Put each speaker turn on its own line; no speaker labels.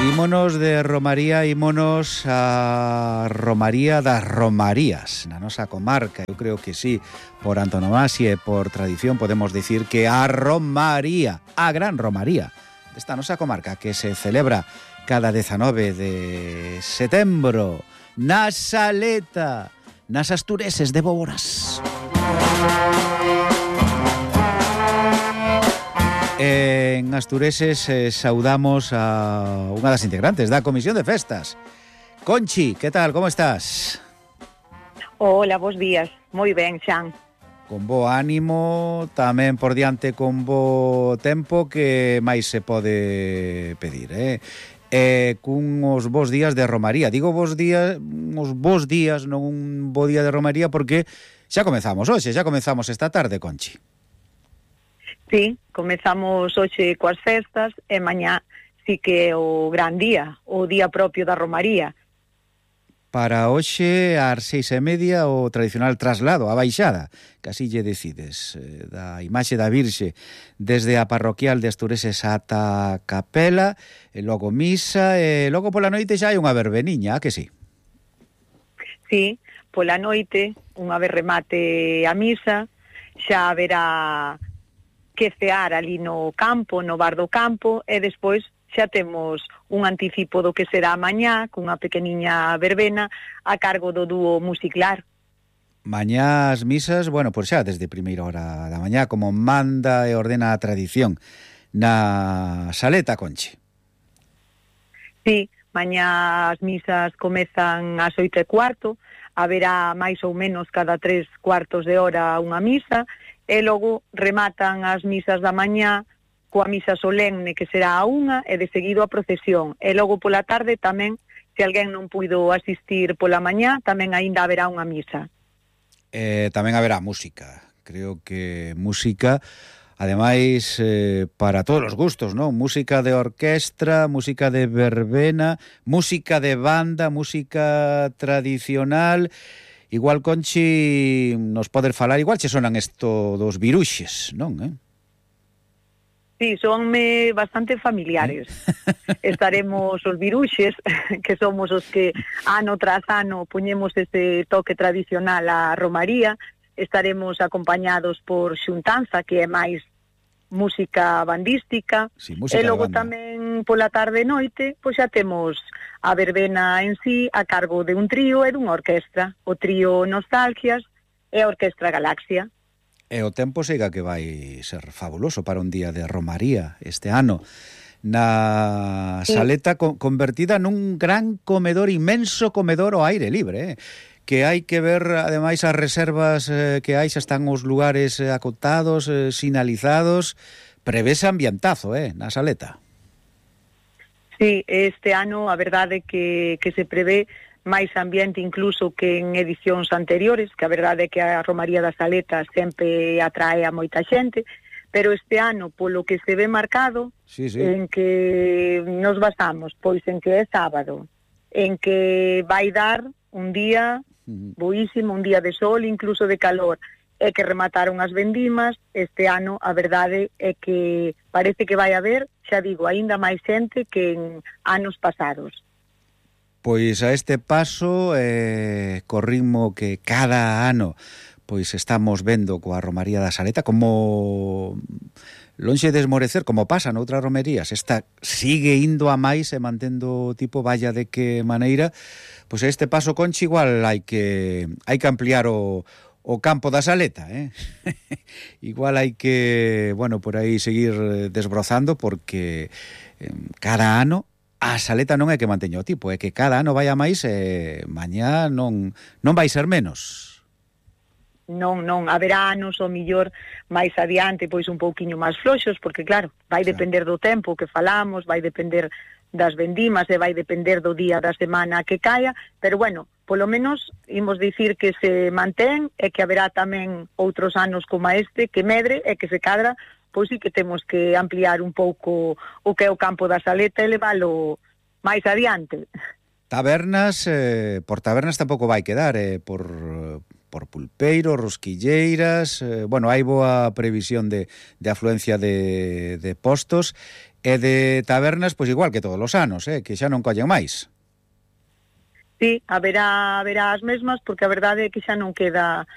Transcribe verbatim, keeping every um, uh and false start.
Ímonos de Romaría, ímonos a Romaría das Romarías, na nosa comarca. Eu creo que sí, por antonomasia e por tradición podemos dicir que a Romaría, a gran Romaría desta nosa comarca, que se celebra cada dezanove de setembro na Saleta, nas Astureses de Boboras. En Astureses eh, saudamos a unha das integrantes da Comisión de Festas. Conchi, que tal, como estás?
Hola, bons días. Moi ben, Xan.
Con bo ánimo, tamén por diante con bo tempo, que máis se pode pedir, eh? Eh, cun os bons días de Romaría. Digo bons días, uns bons días, non un bo día de Romaría, porque xa comezamos hoxe, xa comezamos esta tarde, Conchi.
Sí, comezamos hoxe coas festas e mañá sí que é o gran día, o día propio da Romaría.
Para hoxe, ás seis e media, o tradicional traslado, a baixada, que así lle decides, eh, da imaxe da Virxe desde a parroquial de Astureses ata a capela, e logo misa, e logo pola noite xa hai unha verbeniña, que sí?
Sí, pola noite, unha vez remate a misa, xa haberá que cear ali no campo, no bar do campo, e despois xa temos un anticipo do que será mañá, cunha pequeniña verbena a cargo do dúo Musiclar.
Mañá as misas, bueno, pois xa desde primeira hora da mañá, como manda e ordena a tradición na Saleta, Conchi.
Sí, mañá as misas comezan ás oito e cuarto, haberá máis ou menos cada tres cuartos de hora unha misa, e logo rematan as misas da mañá coa misa solemne, que será a unha, e de seguido a procesión. E logo pola tarde tamén, se alguén non puido asistir pola mañá, tamén aínda haberá unha misa.
Eh, tamén haberá música. Creo que música, ademais, eh, para todos os gustos, ¿no? Música de orquestra, música de verbena, música de banda, música tradicional. Igual, Conchi, nos poder falar, igual che sonan esto dos viruxes, non, eh?
Sí, sonme bastante familiares. ¿Eh? Estaremos os viruxes, que somos os que ano tras ano poñemos ese toque tradicional á Romaría. Estaremos acompañados por xuntanza, que é máis música bandística,
sí, música
e logo
de banda.
Tamén pola tarde e noite, pois xa temos a verbena en sí a cargo de un trío e dunha orquestra, o trío Nostalgias e a Orquestra Galaxia.
E o tempo siga que vai ser fabuloso para un día de Romaría este ano, na Saleta, sí, convertida nun gran comedor, inmenso comedor ao aire libre, eh? Que hai que ver, ademais, as reservas eh, que hai, xa están os lugares eh, acotados, eh, sinalizados, prevese ambientazo, eh, na Saleta.
Sí, este ano a verdade que, que se prevé máis ambiente incluso que en edicións anteriores, que a verdade é que a Romaría da Saleta sempre atrae a moita xente, pero este ano, polo que se ve marcado,
sí, sí,
en que nos basamos, pois en que é sábado, en que vai dar un día boísimo, un día de sol, incluso de calor, e que remataron as vendimas. Este ano a verdade é que parece que vai haber, xa digo, aínda máis xente que en anos pasados.
Pois a este paso, eh, co ritmo que cada ano pois estamos vendo coa Romaría da Saleta, como lonxe de esmorecer, como pasa noutras romerías, esta sigue indo a máis e mantendo tipo valla de que maneira, pois a este paso, Conchi, igual hai que hai que ampliar o, o campo da Saleta, eh? Igual hai que, bueno, por aí seguir desbrozando, porque eh, cada ano a Saleta non é que manteña o tipo, é que cada ano vai a máis e mañá non, non vai ser menos.
Non, non, haberá anos o millor máis adiante, pois un pouquiño máis floxos, porque claro, vai depender do tempo que falamos, vai depender das vendimas e vai depender do día da semana que caia, pero bueno, polo menos imos dicir que se mantén e que haberá tamén outros anos como este que medre e que se cadra, pois sí que temos que ampliar un pouco o que é o campo da Saleta e leválo máis adiante.
Tabernas, eh, por tabernas tampouco vai quedar, eh, por por pulpeiros, rosquilleiras, eh, bueno, hai boa previsión de, de afluencia de, de postos e de tabernas, pois igual que todos os anos, eh, que xa non collen máis.
Sí, haberá, haberá as mesmas, porque a verdade é que xa non queda